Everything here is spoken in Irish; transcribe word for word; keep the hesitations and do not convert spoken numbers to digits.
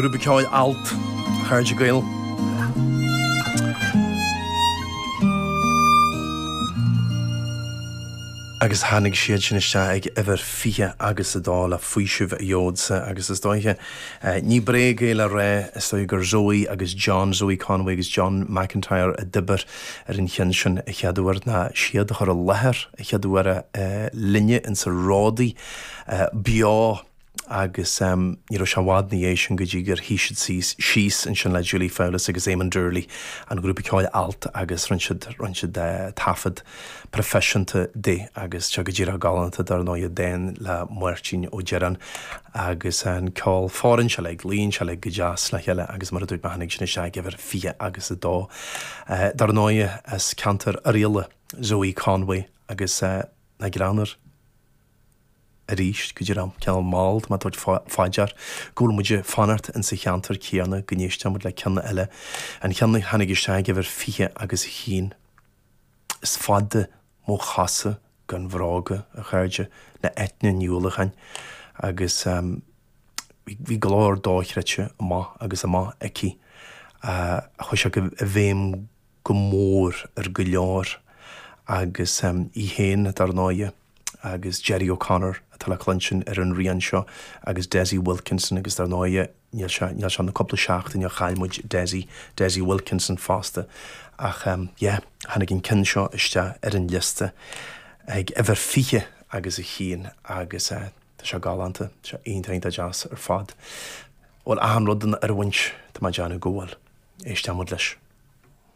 Grúpa ceoil Alt, a chairde Gael. Agus tháinig siad sin isteach ag uimhir fiche agus a dó le Faoiseamh a Gheobhadsa agus is dóiche, ní bréag é le rá, is dóigh gur Zoe agus John, Zoe Conway agus John McIntyre a d'oibir ar an cheann sin a chéad uair, ná siad a chur i láthair a chéad uair linne insa Ródaí beo agus ní raibh sé i bhfad ina dhiaidh sin go dtí gur shuigh siad síos síos ansin le Julie Fowlis agus Eamon Doorley, an grúpa ceoil Alt agus rinne siad rinne siad taifead proifisiúnta de agus seo go díreach galánta dar ndóigh dán le Máirtín Ó Direáin agus an ceol fóireann sé uilig, luíonn sé uilig go deas le chéile agus mar a dúirt mé tháinig sin isteach ag uimhir fiche agus a dó. Dar ndóigh as ceantar Oirialla Zoe Conway agus na greanmhar. arís, go dtí an cineál mall, tá mé ag tabhairt fá dear go bhfuil muid ag fanacht insa cheantar céanna, go n-éisteann muid le ceann eile, an ceann a tháinig isteach ag uimhir fiche agus a haon. Is fada mo chosa gan bhróga, a chairde, le Eithne Ní Uallacháin agus bhí glór dochreidte amach agus amach aici a chuaigh sé i bhfeidhm go mór ar go leor agus í féin, dar ndóighe. agus Gerry O'Connor atá le cluinstin ar an rian seo agus Dessie Wilkinson agus dar ndóighe níl sé níl sé na cúpla seachtain ó chaill muid Dessie, Dessie Wilkinson fosta ach yeah tháinig an ceann seo isteach ar an liosta ag uimhir fiche agus a haon agus tá sé galánta, tá sé iontach iontach deas ar fad. Bhfuil achan rud in oiriúint, tá mé ag déanamh go bhfuil. Éisteann muid leis.